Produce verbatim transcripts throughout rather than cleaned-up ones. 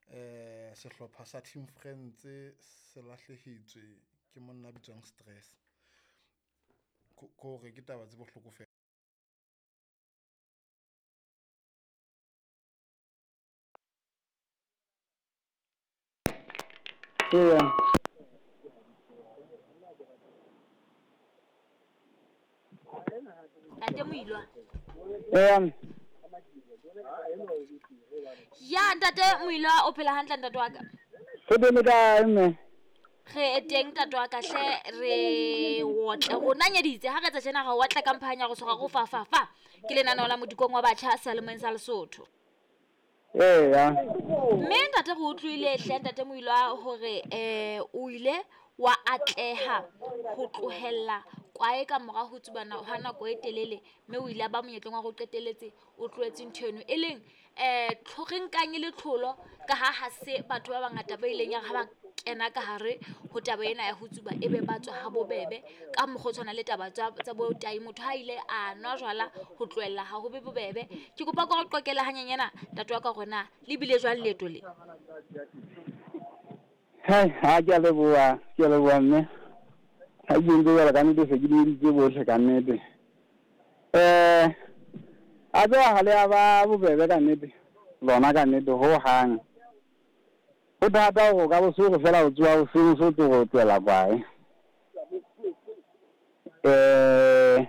Um sehlopha sa Team Friends se lahlehetswe ke monna a bitswang Stress. Ko hore ke taba tse bohloko fela. Eya. Ntate Moilwa. Eya. Ya ntate Moilwa o phela hantle ntate wa ka. Re teng le kae mme? Re teng ntate wa ka hle re otle rona nyeditse ha re etsa tjena ga o otla kampanya go tshwara go fa fa fa. Ke lenaneo la modikong wa batjha selemong sa Lesotho. Eya. Mme ntate re utlwile hle ntate Moilwa hore eh o ile wa atleha ho tlohella kwae ka mora ho tsubana ha nako e telele, mme o ile a ba monyetleng wa go qetelletse o tlohetse ntho eno e leng eh re nkang e le tlholo ka ha ha se batho ba bangata ba ileng ya ha ba kena ka hare ho taba ena ya ho tsuba ebe ba tswa ha bobebe ka mokgwa o tshwana le taba tsa tsa bo tai. Motho ha ile a nwa jwala ho tlohella ha ho be bobebe. Ke kopa ko re qoqele hanyenyana ntate wa ka hore na le bile jwang leeto le. Hai, ha ke a leboha, ke a leboha mme. Ha ke entse jwalo ka nnete se ke dumeditse bohle ka nnete. Eh, a tseba ha le a ba bobebe ka nnete, lona ka nnete hohang. Ho thata hore o ka bo se hore fela o tsoha hoseng so tlo re o tlohela kwae. Eh,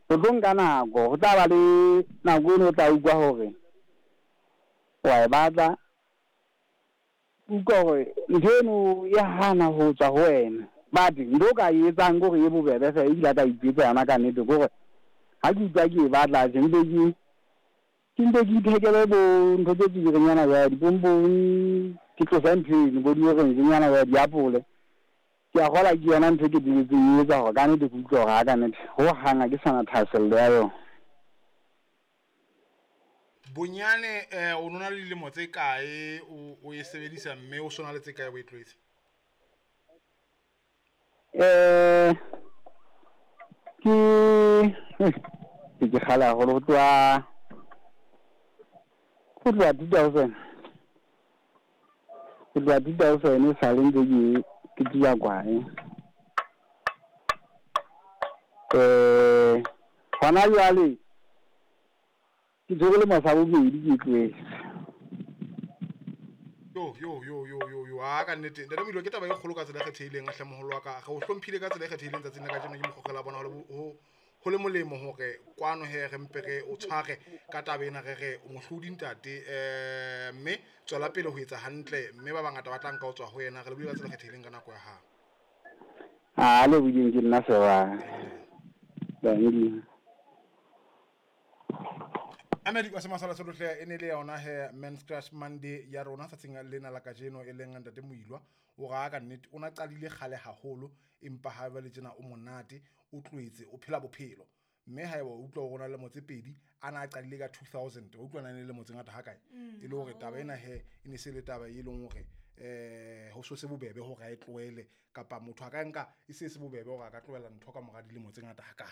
ho tlo nka nako, ho tla ba le nako eno o tla utlwa hore wa e batla. Utlwa hore ntho eno e hana ho tswa ho wena. But ntho o ka e etsang ke hore e bobebe fela ebile a ka itjwetsa yona ka nnete ke hore ha ke utlwa ke e batla tje mpe ke ke mpe ke ithekele bo ntho tse tswileng jwale dipompong, ke tlose ntho eno bo di-orange-nyana jwale diapole. Ke a kgolwa ke yona ntho e ke qetelletseng e etsa hore ka nnete ke utlwe hore ha ka nnete hohang ha ke sana thahasello ya yona. Bonyane eh o nona le dilemo tse kae o o e sebedisa mme o sona le tse kae o e tlohetse? Eh ke ke ke kgale haholo ho tloha ho tloha two thousand. Ho tloha two thousand e sale ntse ke ke tsuba kwae. Eh hona jwale ke tshwere lemo sa bobedi ke e tlohetse. Yo yo yo yo yo yo a ka nnete ntate Moilwa ke taba e kgolo ka tsela e kgethehileng hle moholo wa ka. Re o hlomphile ka tsela e kgethehileng tsatsing la kajeno ke mokgokgela bona hore ho ho le molemo hore kwano he re mpe re o tshware ka taba ena re re o mohlodi ntate eh mme tswela pele ho etsa hantle mme ba bangata ba tla nka ho tswa ho yena. Re lebohile ka tsela e kgethehileng ka nako ya hao. A le boding ke nna Sewa. Dankie. Amedi wa semasala se e ne le yona he Men's Crush Monday ya rona tsatsing lena la kajeno e leng ntate Moilwa. O ra ka nnete o na qadile kgale haholo empa ha jwale tjena o monate o tlohetse o phela bophelo. Mme haeba o utlwa hore o na le lemo tse pedi a na qadile ka two thousand o utlwa na le lemo tse ngata ha kae e le hore taba ena he e ne se le taba e leng hore eh ho so se bobebe hore a e tlohele kapa motho a ka nka e se se bobebe hore a ka tlohela ntho ka mora dilemo tse ngata hakalo.